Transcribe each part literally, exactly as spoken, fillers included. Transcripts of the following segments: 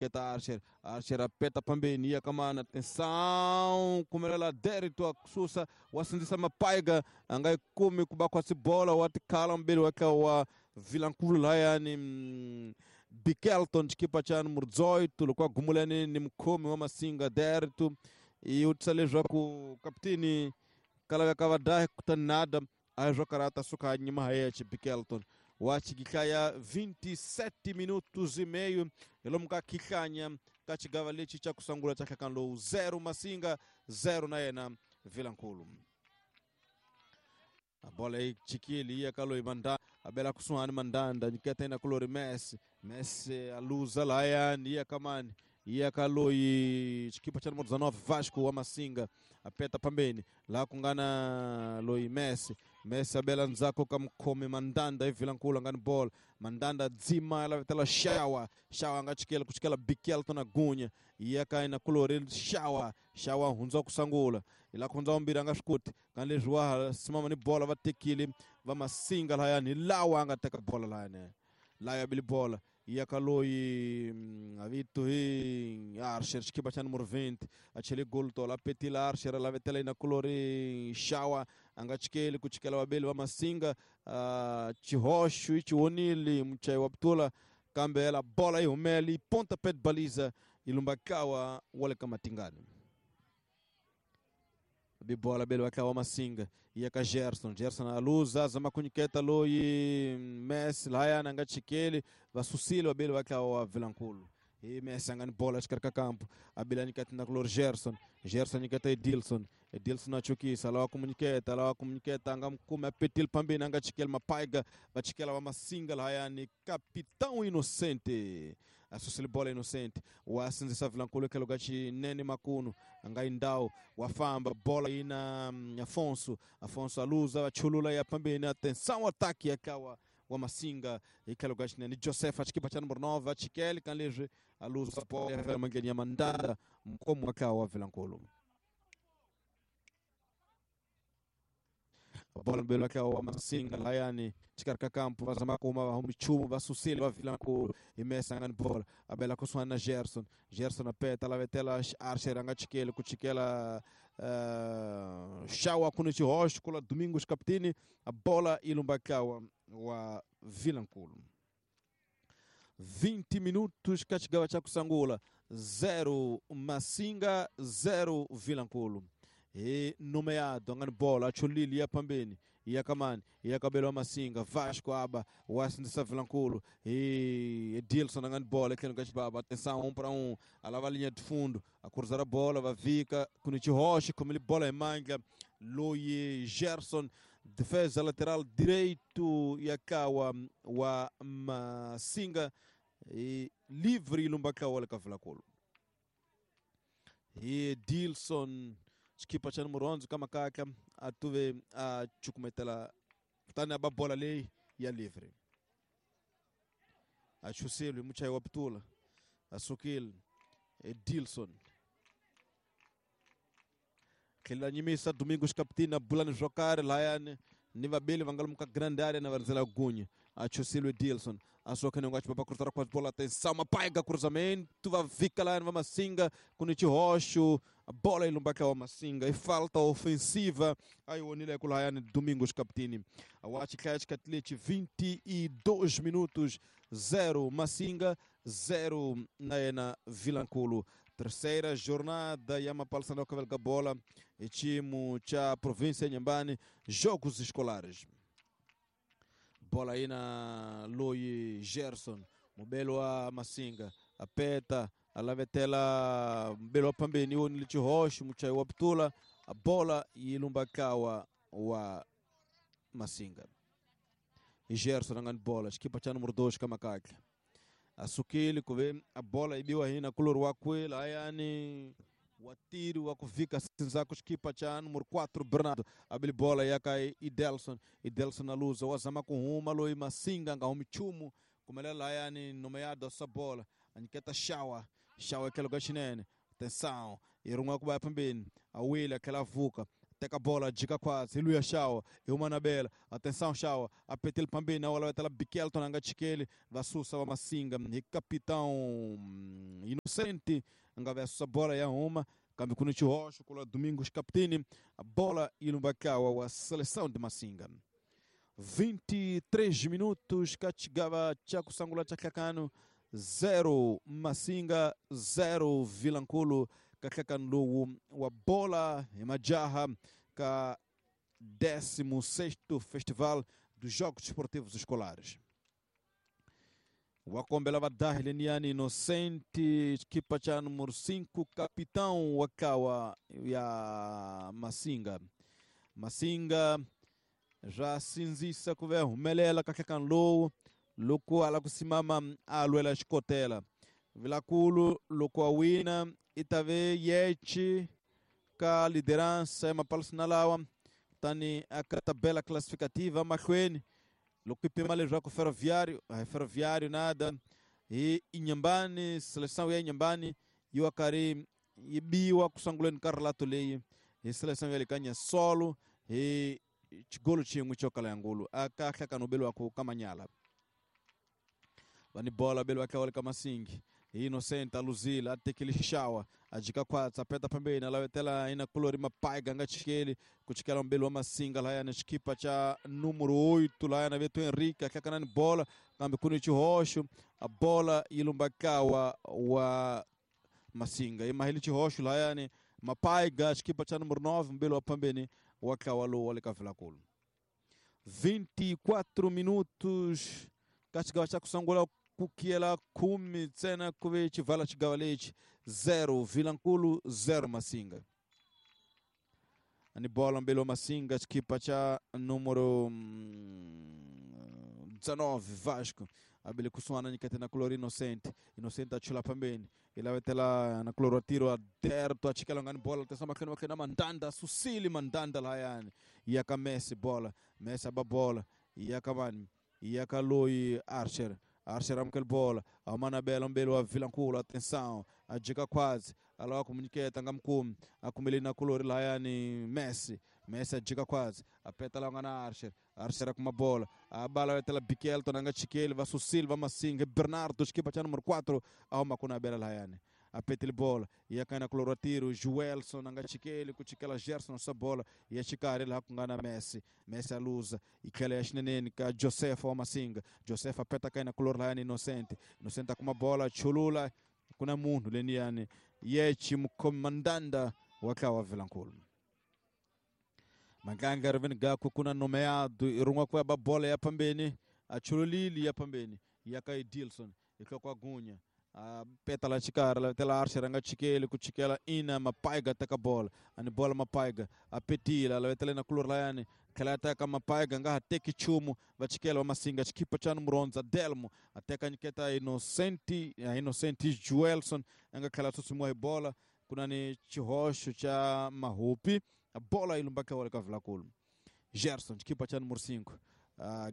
Nyiketa Archer, Archer apeta pambeni ya kamana, atenção, kumelela Derito akususa wasinzisa mapaiga angai kumi kubakwa bola watikala mbili wake wa Vilankulu layani mm, Bikelton chikipa cha número dezoito lokwa gumulani ni mkhomi wa Masinga Derito e utsalezwa ku kapteni kala kavadahe kutanada ajokarata suka nyuma hayeche Bikelton wachikihlaya vinte e sete minutos e meio elomuka kihlanya kachigava lechi cha kusangula cha kanlo zero Masinga zero na yena Vilankulu. A bola aí chikili ia kaloi manda abela kusuani mandanda niketa ina kulori Messi Messi aluza layani ia kamani ia kaloi chikipa cha número dezenove Vasco wa Masinga apeta pambeni la kungana loi Messi Messi abela nzako kamkome mandanda ivilankulu ngani bola mandanda dzima ela vetela shawa shawa ngachikela kuchikela Bikelton na gunya ia kaina kulori shawa shawa hunza kusangula ila kunza umbira ngaskuti kanle jwa simama ni bola vatekile va Masinga layani lawa angateka bola layani laya bili bola ia kaloi avito hi Archer chikipa cha número vinte achele gol tola petila Archer la vetela ina kulori shawa angachikele kuchikela wabeli wa Masinga uh, chihoshu ichionili mchai waptula kambe ela bola ihumeli ponta pé de baliza ilumbakawa wale kamatingani bibola belo akawa Masinga ia ka Gerson Gerson aluza zama kuniketa loi Messi laya ngachikele vasusile wabelo akawa Vilankulu e Messi angani bola chikarka campo abila nikata na klor Gerson Gerson nikata Edilson Edilson achukisa lawa komuniketa lawa komuniketa angamkume apetil pambeni angachikele mapaiga vachikela wa Masinga laya ni capitão inocente asusile bola inocente wasinzisa Vilankulu kelogachi nene makuno angaindao wafamba bola ina Afonso Afonso aluza wachulula ya pambeni atenção ataque akawa wa Masinga ikelogachi nene Joseph achikipa cha número nove achikele kanleje aluza bola ya mangenia mandanda mkomo akawa Vilankulu bola mbele akawa Masinga layani chikarka campo vazama kuma vahumichumu vasusile va Vilankulu imesa ngani bola abela kuswana na Gerson Gerson apeta la vetela Archer angachikele kuchikela uh, shawa kuno chihosh kula Domingos capitini a bola ilumbakawa wa Vilankulu. vinte minutos kachigawa cha kusangula zero Masinga zero Vilankulu. E nomeado ngani bola achulili ya pambeni ya kamani ya kabelo Masinga Vasco aba wasindisa Vilankulu e Edilson ngani bola kendo kachibaba atenção um para um alava linha de fundo a cruzar a bola vavika kunichihoshi como ele bola em manga Loie Gerson defesa lateral direito yakawa wa Masinga e livre ilumbakawa la Vilankulu e Edilson chikipa cha número onze kama kaka atuve a chukumetela tani aba bola lei ya livre achuselu muchai waptula asukil Edilson kila nyimisa Domingos captina bulani jokare layane ni vabeli vangaluka grande área na varzela gunya achuselu Edilson asokene ngachi papa cruzar com a bola atenção mapaiga cruzamento va vika lá va Masinga kunichi rocho a bola ilumbaka wa Masinga e falta ofensiva aí o Onile kulayane Domingos Capitini a Watch Catch Catlete vinte e dois minutos zero Masinga zero na Vilankulu. Terceira jornada ya mapalsano kavelga bola e timu cha província Inhambane jogos escolares. Bola aí na Loi Gerson, mobelo wa Masinga, apeta, alavetela mbelo pambeni onili chihoshi muchai wa ptula, a bola ilumbakawa wa Masinga. E Gerson angani bola, chikipa cha número dois kama kaka. Asukili kuve a bola ibiwa hina kulor wakwe layani watiri wakufika sinzako chikipa cha número quatro Bernardo abili bola yaka Idelson Idelson aluza wazama kuhuma loi Masinga ngahumi chumu kumelela layani nomeado essa bola aniketa shawa shawa aquela gashinene atenção irunga kuba pambeni awile aquela vuka Teka bola, jika quase, Luia Shawa, e uma Anabela, atenção Shawa, apetele pambeni, na wala tela Bikelton anga chikele, vasusa wa Masinga, e capitão Inocente, anga versa bola ya uma, kambi kunichi roxo, kula Domingos Capitini, a bola ilumbakawa wa seleção de Masinga. vinte e três minutos, Kachigava Chakusangula Chakakano, zero Masinga, zero Vilankulo. Kakanlu wa bola imajaha ka décimo sexto Festival dos Jogos Esportivos Escolares. Wakombela vadahileniani Inocente, equipa cha número cinco, capitão wakawa ya Masinga. Masinga já sinzisa kuve humelela kakanlu luku ala kusimama alwela xikotela. Vilankulo loko awina itave yechi ka liderança ya mapalsinalawa tani a tabela classificativa mahlweni loko ipima leswaku Ferroviário, a Ferroviário nada e Inhambane, seleção ya Inhambane yi wa karhi yi biwa kusunguleni ka relato leyi hi seleção ya le ka Nyasolo hi xigolo xin'we xo kala ya ngulu aka hlakano beliwaku ka Manyala. Vani bola beliwa ka wale ka Masingi. Inocente aluzila atekele shawa ajika kwatsa peta pembeni alawetela ina kulori mapaiga ngachikele kuchikela mbelo wa Masinga la yana chikipa cha número oito la yana Beto Henrique akakanani bola kambe kuni chihosho a bola ilumbakawa wa Masinga imahili chihosho la yana mapaiga chikipa cha número nove mbelo wa pembeni wakawalo wale kavila kulu. vinte e quatro minutos kachigawa cha kusangula kukiela kumi tsena kuve chivala chigawa lechi zero Vilankulo zero Masinga. Ani bola mbelo Masinga chikipa cha número dezenove Vasco abele kusuana nikate na color Inocente. Inocente achula pambeni ilawetela na color tiro aderto achikela ngani bola atenção makena makena Mandanda Susili Mandanda layani yaka Messi bola Messi aba bola yaka mani yaka Loi Archer Archer amkel bola amana bela mbelo wa Vilankulo atenção ajika quase alawa komuniketa ngamkumi akumele na color layani Messi Messi ajika quase apeta la ngana Archer Archer kuma bola a bala wetela Bikelton anga chikele va Silva Masinga Bernardo chikipa cha número quatro auma kuna bela layani apetele bola ia kaina color tiro Joelson anga chikele kuchikela Gerson essa bola ia chikare lá com ngana Messi Messi aluza e kele ashneneni ka Joseph wa Masinga Joseph apeta kaina color layani Inocente Inocente kuma bola chulula kuna munhu leniani yechi mkomandanda wakawa Vilankulo. Maganga reveni gako kuna nomeado irungwa kwa bola ya pambeni achululili ya pambeni yakai Dilson ikwa gunya a petala chikara la tela Archer anga chikele kuchikela ina mapaiga taka bola ani bola mapaiga apetila la tela na kulur layani kala taka mapaiga nga teki chumu vachikela wa Masinga chikipa cha número Delmo ateka niketa Inocente Inocente Joelson anga kala tusimwa bola kuna ni chihosho cha Mahupi a bola ilumbaka wale ka Vilankulo. Gerson chikipa cha número cinco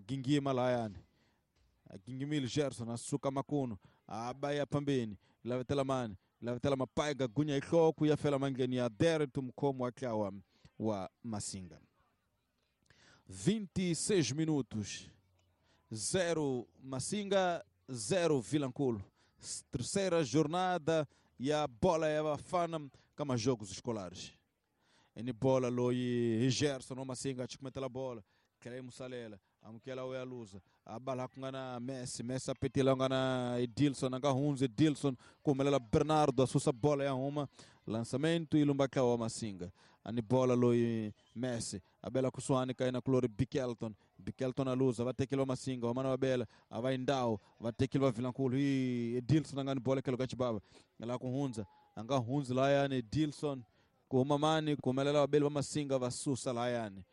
gingima layani gingimil Gerson asuka makuno abaya pambeni lavetela mani lavetela mapaiga gunya ihloko yafela mangeni ya derto mkomo akawa wa Masinga. vinte e seis minutos zero Masinga zero Vilankulo. Terceira jornada e a bola é bafana kama jogos escolares. Eni bola loi Gerson Masinga chikumetela bola kele musalela amukela we aluza abala kungana Messi Messi apetila ngana Edilson anga hunze Edilson kumelela Bernardo asusa bola ya uma lançamento ilumbaka wa Masinga ani bola loi Messi abela kusuani kaina kulori Bikelton Bikelton aluza vatekilwa Masinga wamana wabela avaindao vatekilwa Vilankulo Edilson anga ni bola kelo kachibaba ngala kuhunza anga hunze layani Edilson kumamani kumelela wabela wa Masinga vasusa layani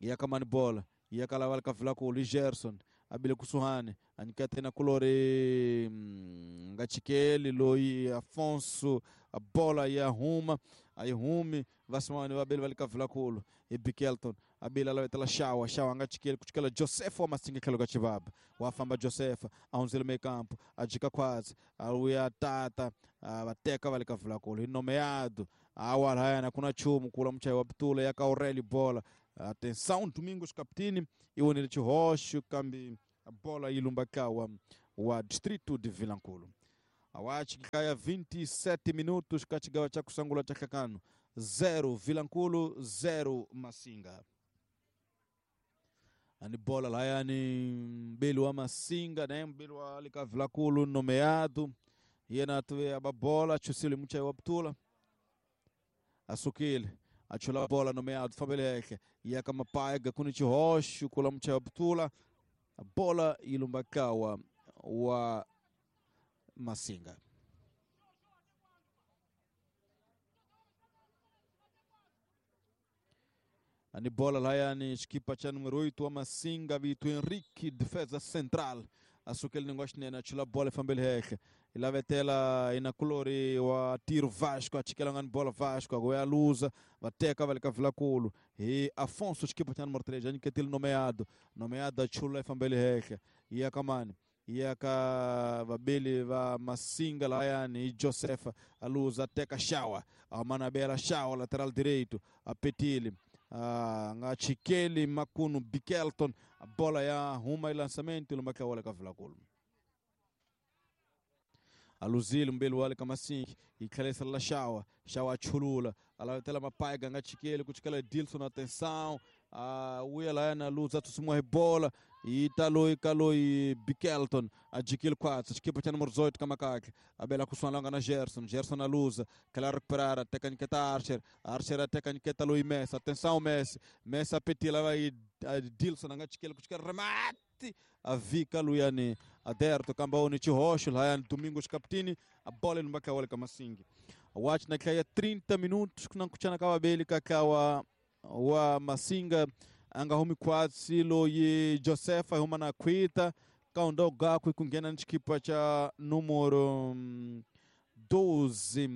yakamani bola yakala walka Vilankulo Gerson Abile kusuhani anikata na kulore ngachikeli loi Afonso a bola ya Ruma aí Rumi vasimani vabele valikavila kulu e Bikelton abele alavetela Shawa Shawa ngachikeli kuchikela Josefo Masinga khelo kachibaba wafamba Josefa aunzele meio campo ajika quase aluya tata vateka valikavila kulu inomeado awalhayana kuna chumu kula mchai wa Ptula yaka Aurélio bola. Atenção, Domingos Capitini e o Nilce Rocha, kambi a bola ilumbakawa wa distrito de Vilankulo. Awachi kaya vinte e sete minutos kachigawa cha kusangula cha kakano zero Vilankulo zero Massinga. Ani bola layani mbele wa Massinga, né? Mbele wa lika Vilankulo nomeado. Yena tuwe ababola chusile mchai wa Ptula. Asukile achula bola nomeado Fabeleke yaka mapaiga kunichi rocho kula mchai wa Ptula. A bola ilumbakawa wa Massinga. Ani bola layani equipa cha número oito wa Massinga Vitor Henrique, defesa central. Asukele ningoshi nena achula bola Fabeleke. Ilavetela ina colore wa tiro Vasco achikela ngani bola Vasco agoya luza vateka valika Vilankulo e Afonso equipa cha número três aniketile nomeado nomeado achula Fabeleke e akamani e aka vabili va Massinga layani e Josefa a luza teka Shawa a manabela Shawa lateral direito a Petili a ngachikeli Makuno Bikelton a bola ya ruma e lançamento lumakawala ka Vilankulo. Aluzile mbele wale kama sinki ikhalesa la Shawa Shawa chulula alatela mapaiga ngachikele kuchikela Dilson atenção a uya na luza tusimwa bola italo ikaloi Bikelton ajikil quatro equipa cha número dezoito kama kake abela kusualanga na Gerson Gerson aluza kala recuperar até caniketa Archer Archer até caniketa loi Messi atenção Messi Messi apetila vai Dilson ngachikele kuchikela remate a Vika Luiane aderto kambaoni Chirocho Ryan Domingos Capitini a bola no Macauale Kamasingi watch na kaya trinta minutos kuna kuchana kawabeli kakawa wa Massinga anga humi kwatsi loyi Josefa huma na kwita kaunda gakwe kungena nchikipa cha número doze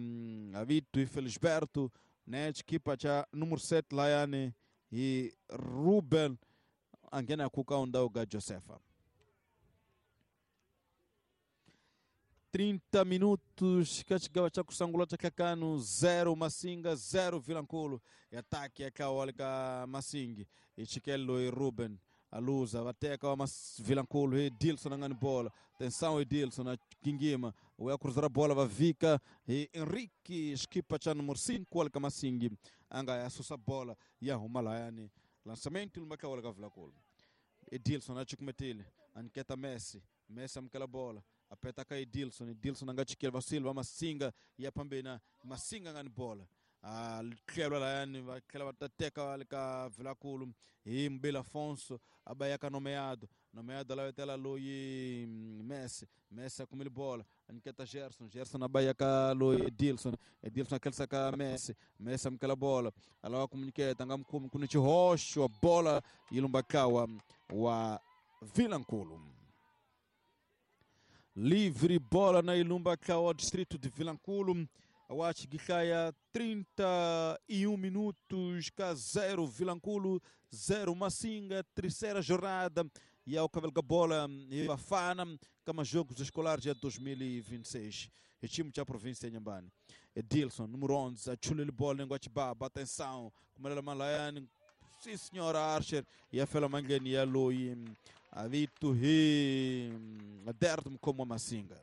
Avito e Felisberto né chikipa cha número sete Laiane e Ruben angena kukaunda ga Josefa. trinta minutos kachigawa cha kusangula cha kakano zero Massinga zero Vilankulo e ataque akaolika Massingi ichikelo e Ruben aluza vateka wa Vilankulo e Dilson angani bola atenção e Dilson a Kingima o cruzar a bola va Vika e Henrique equipa cha número cinco alika Massingi anga asusa bola e arruma layani lançamento lumakaolika Vilankulo Edilson achikumetile aniketa Messi Messi amkela bola apeta ka Edilson Edilson angachikela Vasilva Massinga ya pambena Massinga ngani bola alikelwa layani vakela vatateka alika Vilankulo e Mbela Afonso abayaka nomeado nomeado lavetela loi Messi Messi akumile bola aniketa Gerson Gerson abayaka loi Edilson Edilson akelsa ka Messi Messi amkela bola alawa kumuniketa ngamkumi kunichi rocho a bola ilumbakawa wa Vilankulo. Livre bola na Ilumbakawa distrito de Vilankulo. Awach Gikaya trinta e um minutos, cá zero Vilankulo, zero Massinga, terceira jornada. E ao Cavelga Bola e Bafana, kama jogos escolares de dois mil e vinte e seis. E time da província de Inhambane. Edilson, número onze, a chulele bola em Guatibaba, atenção, como ela Malayane, sim senhora Archer, e a Fela Mangani, e a Loi, a Vito Ri, Aderto como a Massinga.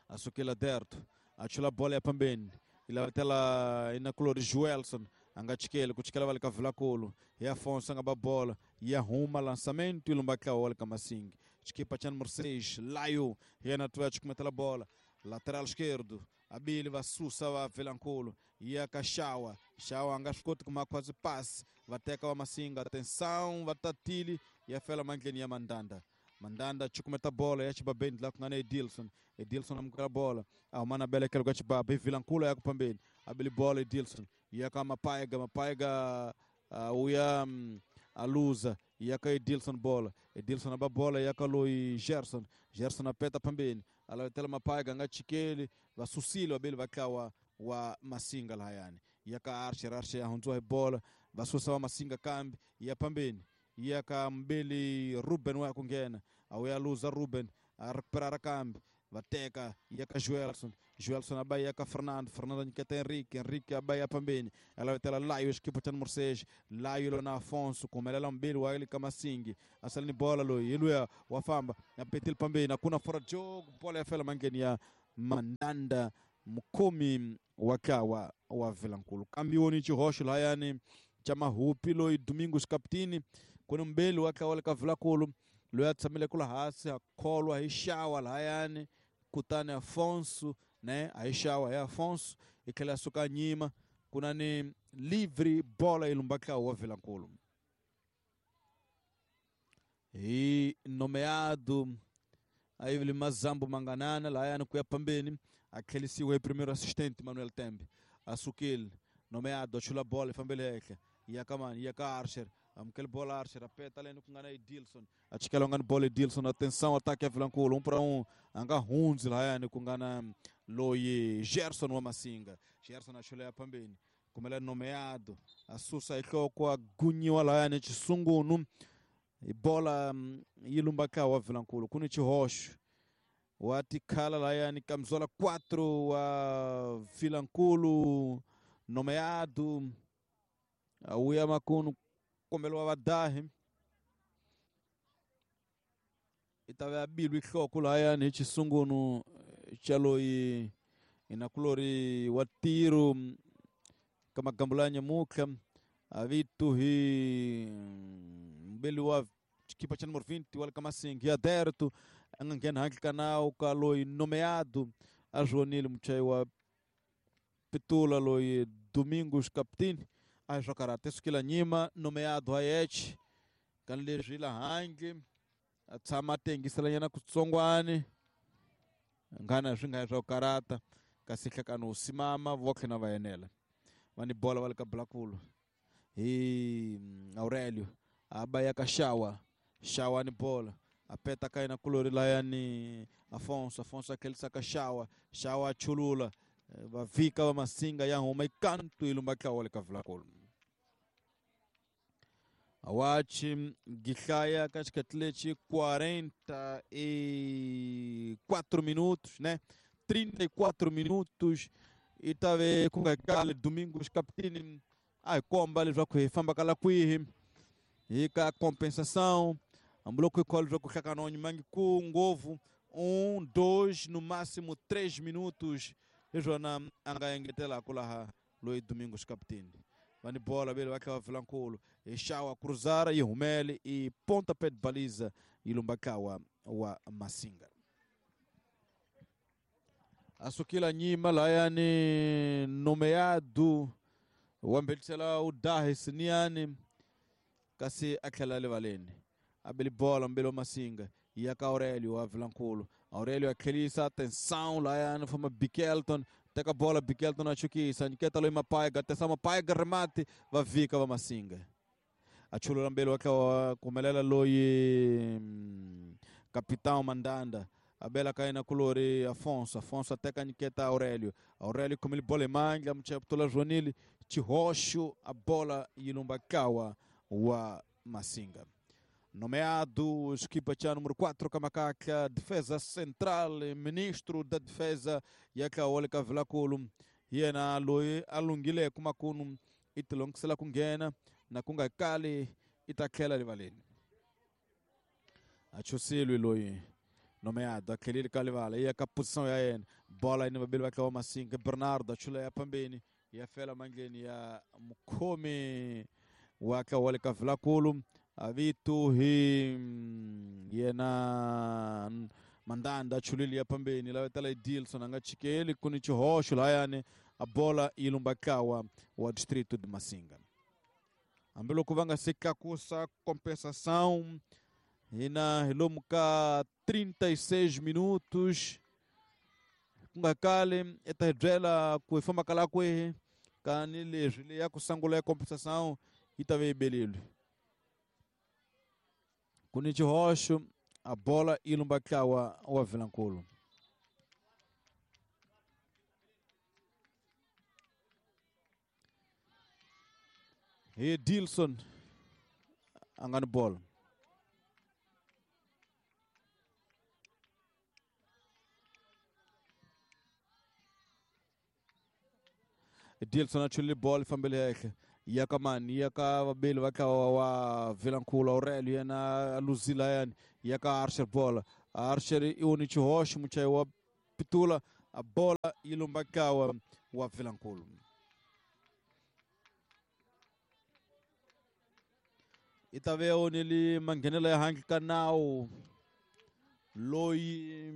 A Suquela Aderto. Achula bola ya pambeni ila tela ina color Joelson angachikele kuchikela valika Vilankulo e Afonso anga bola e arruma lançamento e lumbaka olika Massinga equipa cha número seis Laio e na tua chikumetela bola lateral esquerdo Abili vasusa va Vilankulo e a Cachawa Chawa angashikoti kuma quase passe vateka wa Massinga atenção vatatili e a fela mangeni ya Mandanda Mandanda chukumeta bola ya chibabeni la kungana Edilson Edilson amkala bola ahumana bele kelo chibaba e Vilankulo ya kupambeni abili bola Edilson ya kama mapaiga mapaiga uh, uya um, aluza Ya ka Edilson bola. Edilson aba bola ya ka loyi Gerson. Gerson apeta pambeni. Alavetela Mapaiga nga chikeli vasusile vabeli vatlawa wa Masinga lahayani. Ya ka Archer, Archer ya hundziwa hi bola vasusa wa Masinga kambi ya pambeni. Ya ka mbeli Ruben wa ku nghena. Awuya luza Ruben a recuperar kambi vateka ya ka Joelson. Joelson aba ya ka Fernando, Fernando nyiketa Henrique, Henrique aba ya pambeni. Alavetela Laio equipa cha número seis, Laio lona Afonso kumelela mbili wa ile kama Masingi. Asalini bola loyi iluya wafamba apetile pambeni hakuna fora jogo bola ya fela mangeni ya Mandanda mukhomi wakawa wa Vilankulu. Kambioni chihoxo lahayani cha Mahupi loyi Domingos Capitini kuna mbeli wakawa le ka Vilankulu loyi a tshamile kula hansi a kholwa hi xawa lahayani kutani Afonso ne a hi xawa hi Afonso i tlhela a suka nyima kuna ni livre bola yi lumba ntlawa wa Vilankulu. Hi nomeado aí Mazambo Manganana lahayani ku ya pambeni a tlhelisiwe hi primeiro assistente Manuel Tembe. Asukile nomeado a chula bola fambele henhla ya ka mani ya ka Archer amukele bola Archer apeta leni ku nga na Edilson a chikela nga ni bola Edilson atenção ataque ya Vilankulu um para um a nga hundzi lahayani ku nga na loyi Gerson wa Masinga. Gerson a chula ya pambeni kumela nomeado a susa hi nhloko a gunyiwa lahayani xisungunu hi bola yi lumba ka wa Vilankulu ku ni xihoxo wa tikhala lahayani camisola quatro wa Vilankulu nomeado awuya makunu kombelo wa vadahi i ta va bilwi nhloko lahayani hi xisungunu xa loyi inakulori wa tiro ka magambo ya nyamutlha a vito hi mbeli wa xikipa cha número vinte wa le ka Masingi ya Derto a nga nghena handle ka nawu ka loyi nomeado a zvonile muchayi wa Pitula loyi Domingos Capitini a hi swa karata sukela nyima nomeado hayeche kan leswi la handle a tshama a tengiselanyana kutsongwani ngana swi nga swa karata kasi hlekano simama votlhe na va enela va ni bola va le ka Blakulu hi Aurelio aba ya ka Xawa, Xawa ni bola apeta ka yena kulori layani Afonso, Afonso akelisa ka Xawa, Xawa chulula va vika va Masinga ya huma ikantu ilumba tlawa le ka Vilankulu. Awachi gihlaya ka xikhathi lexi quarenta e quatro minutos, né? trinta e quatro minutos i ta ve ku nga kale Domingos Capitini a hi komba leswaku hi famba kala kwihi hi ka compensação hambiloko hi khola leswaku hlakana wa nyimangi ku ngopfu um dois no máximo três minutos hi swona a nga engetelaka laha loyi Domingos Capitini. Va ni bola vele va tlhela va Vilankulu hi xawa cruzara yi humele i pontapé de baliza yi lumba ntlawa wa Masinga. Asukila nyima lahayani nomeado wa mbelisela u dahi siniani kasi a tlhela rivaleni a beli bola mbeli wa Masinga ya ka Aurelio wa Vilankulu. Aurelio a tlhelisa atenção lahayani fama Bikelton teka bola Bikelton a chukisa nyiketa loyi Mapaiga atenção Mapaiga remate va vika va Masinga a chulula mbeli wa tlhela kumelela loyi capitão Mandanda abela ka yena kulori Afonso, Afonso ateka nyiketa Aurelio, Aurelio kumile bola emandla mchaptola Joanile xihoxo a bola yi lumba kawa wa Masinga. Nomeado equipa cha número quatro Kamakaka, defesa central, ministro da defesa ya ka ka Vilankulu yena loyi a lunghile kumakunu i tilongisela ku nghena na ku nga kali i ta tlhela rivaleni. A chusilwi loyi nomeado a tlhelile ka livala ya ka posição ya yena bola yi ni vabeli va tlawa Masinga Bernardo a chula ya pambeni ya fela mandleni ya mukhomi wa tlawa le ka Vilankulu a vito hi yena Mandanda a chulile ya pambeni lavetela Edilson a nga chikeli ku ni xihoxo lahayani a bola yi lumba ntlawa wa distrito de Masinga. Hambiloko va nga se tlakusa compensação hina hi lomu ka trinta e seis minutos ku nga kali i ta hi byela ku hi famba kala kwihi kani leswi leyi ya ku sungula ya compensação yi ta ve yi belile. Ku ni xihoxo a bola yi lumba ntlawa wa Vilankulu. Hi Dilson a nga ni bola. Dilson a chulile bolo yi fambile henhla ya ka mani ya ka vabeli va ntlawa wa Vilankulu. Aurelio yena a luzile layani ya ka Archer bola. Archer i woni xihoxo muchayi wa pitula a bola yi lumba ntlawa wa Vilankulu. I ta ve oneli manghenelo ya handle ka nawu loyi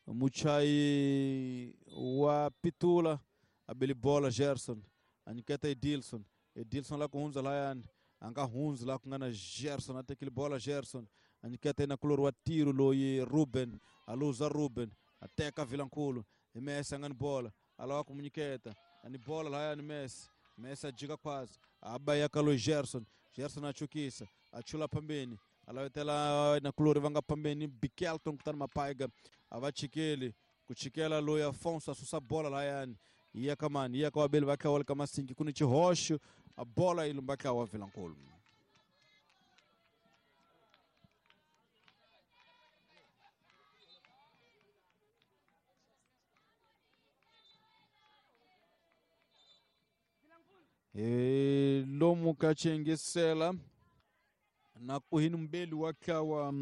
muchayi wa pitula a beli bola Gerson a nyiketa Edilson. Edilson la ku hundza layani a nga hundzi laha ku nga na Gerson a tekile bola Gerson a nyiketa na kulori wa tiro loyi Ruben a luza Ruben a teka Vilankulu hi Messi a nga ni bola a lava ku mu nyiketa a ni bola layani Messi. Messi a jika khwazi a ba ya ka loyi Gerson. Gerson a chukisa a chula phambeni a lavetela na kulori va nga phambeni Bikelton kutani Mapaiga a va chikeli ku chikela loyi Afonso a susa bola layani ya ka mani ya ka vabeli va ntlawa ka Masingi. Ku ni xihoxo a bola yi lumba ntlawa wa Vilankulu. Hi lomu ka xiyingisela na ku hi ni mubeli wa ntlawa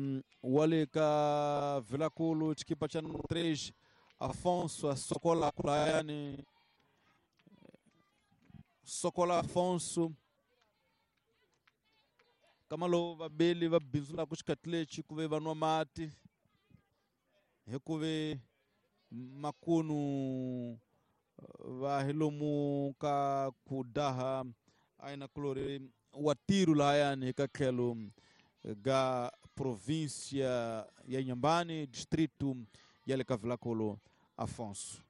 wa le ka Vilankulu xikipa xa number three Afonso a sokola layani sokola Afonso kama lowu vabeli va bindzulaka xikati lexi ku ve va nwa mati hi ku ve makunu va hi lomu ka ku daha a yi na kulori wa tiro lahayani ka tlhelo ga província ya Inhambane, distrito ya le ka Vilankulu Afonso.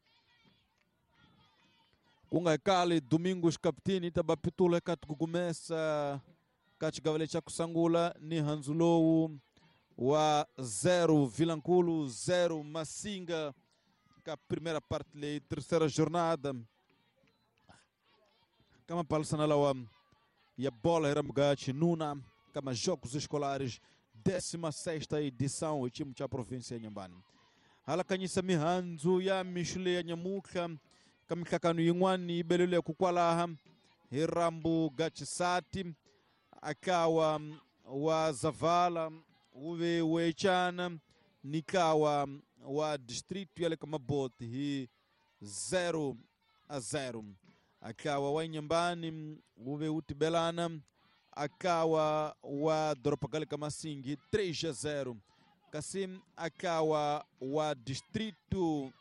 Ku nga kali Domingos Capitini ta ba pitula eka tikugumesa ka xigava lexi xa ku sungula ni handzu lowu wa zero Vilankulu zero Masinga ka primeira parte leyi terceira jornada kama palisana lawa ya bola hi nuna kama jogos escolares décima sexta edição o time cha província ya Inhambane. Hala kanyisa mihandzu ya mixo leya nyamutlha ka mihlakano yin'wana yi belele ku kwalaha hi rambu Gatshisati akawa wa Zavala wu ve wechana ni ntlawa wa distrito ya le ka Maboti hi zero a zero. Akawa wa Inhambane wu ve wu tibelana akawa wa doroba ga le ka Masingi três a zero. Kasi akawa wa distrito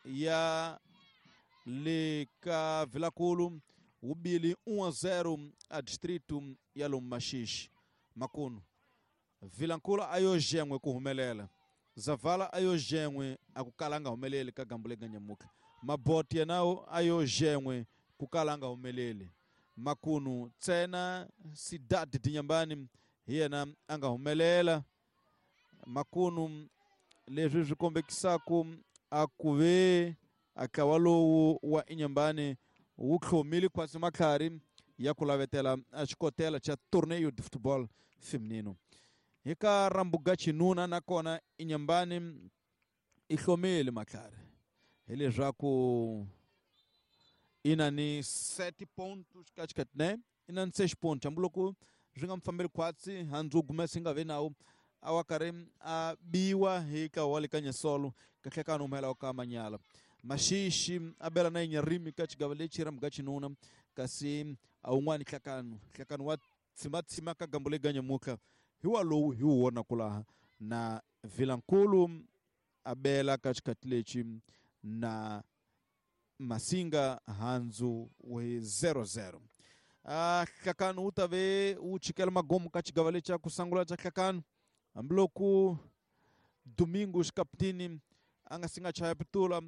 ya le ka Vilankulu wu bile um a zero a distrito ya lomu Maxixi. Makunu Vilankulu a yo jen'we ku humelela Zavala a yo jen'we a ku kala nga humeleli ka gambu lega nyamuka. Maboti yenawo a yo jen'we ku kala nga humeleli. Makunu ntsena Cidade de Inhambane hi yena a nga humelela. Makunu leswi swi kombekisaku a ku ve a ntlawa lowu wa Inhambane wu tlhomile khwatsi matlhari ya ku lavetela a xikotela xa torneio de futebol feminino. Hi ka rambuga xinuna nakona Inhambane i hlomile matlhari hileswaku i na ni sete pontos ka xikati ne i na ni seis pontos hambiloko swi nga mu fambeli khwatsi handzu gumesa yi nga vi nawu a wa karhi a biwa hi ka wa le ka Nyesolo kahlekani humela ka Manyala. Maxixi a bela na Inyarimi ka xigava lexi rambuga xinuna kasi a wun'wani nhlakano nhlakano wa tshimatsima ka gambu lega nyamutlha hi wa lowu hi wu vonaka laha na Vilankulu a bela ka xikati lexi na Masinga handzu hi zero zero. A nhlakano wu ta ve wu chikela magomo ka xigava lexi xa ku sungula xa nhlakano hambiloko Domingos Capitini a nga si nga chaya pitula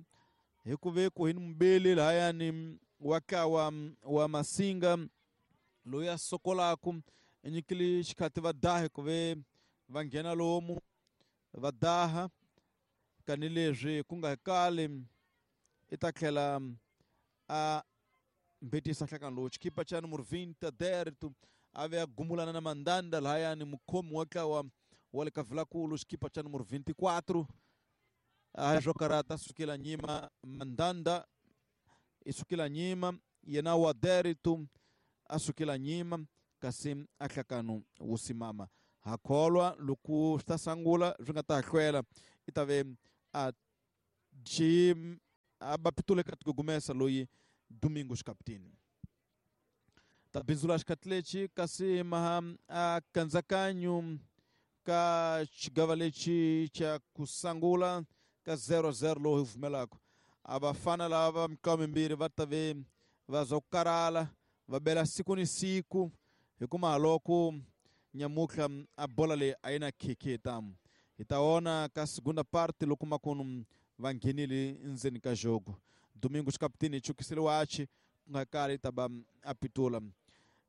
hi ku ve ku hi ni mubeli lahayani wa ntlawa wa Masinga loyi a sokolaku Nyikile xikhati va daha ku ve va nghena lomu va daha kanileswi ku nga kali i ta tlhela a mbetisa nhlakano lowu xikipa xa numero vinte Derto a ve a gumulana na Mandanda lahayani mukhomi wa ntlawa wa le ka Vilankulu xikipa xa numero vinte e quatro a jokarata sukela nyima Mandanda i sukela nyima yena wa Derto a sukela nyima kasi a nhlakano wu simama ha kholwa loko swi ta sangula swi nga ta hlwela i ta ve a jim a ba pitule ka tigumesa loyi Domingos Capitini ta bindzula xikhathi lexi kasi maha a kanzakanyo ka xigava lexi xa ku sangula ka zero zero lowu hi vumelaka a vafana lava mitlawa mimbirhi va ta ve va za ku karhala va bela siku ni siku hikuva loko nyamutlha a bola leyi a yi na khekhe hi ta vona ka segunda parte loko makunu va nghenile ndzeni ka jogo Domingos Capitini chukisile wachi ku nga kali ta ba a pitula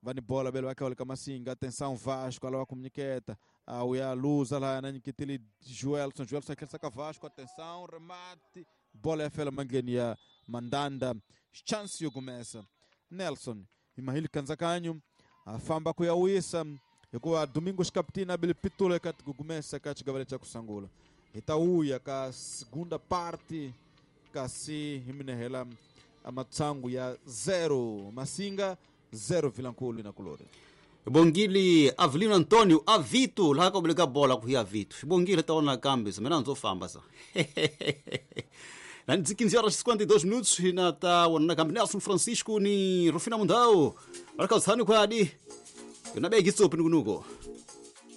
va ni bola bele va tlhela ka Masinga atenção Vasco alava ku nyiketa a uya luza la na nyiketile Joelson Joelson tlherisa ka Vasco atenção remate bola ya fela mandleni ya Mandanda chance yo kumesa Nelson imahili kanzakanyo afamba ku ya wisa hikuva Domingos Capitini abile pitula ka tigugumesa ka xigavale xa ku sangula hi ta wuya ka segunda parte kasi hi minehela amatsangu ya zero Masinga zero Vilankulu na Kulori. Bongili Avelino Antônio Avito laha ka buleka bola ku ya Avito. Bongile ta ona kambe mina ndzo famba sa. Na quinze horas e cinquenta e dois minutos na ta wona kambe Nelson Francisco ni Rufina Mundau. Baraka usani kwa adi. Yona begi tsopi nukunuko.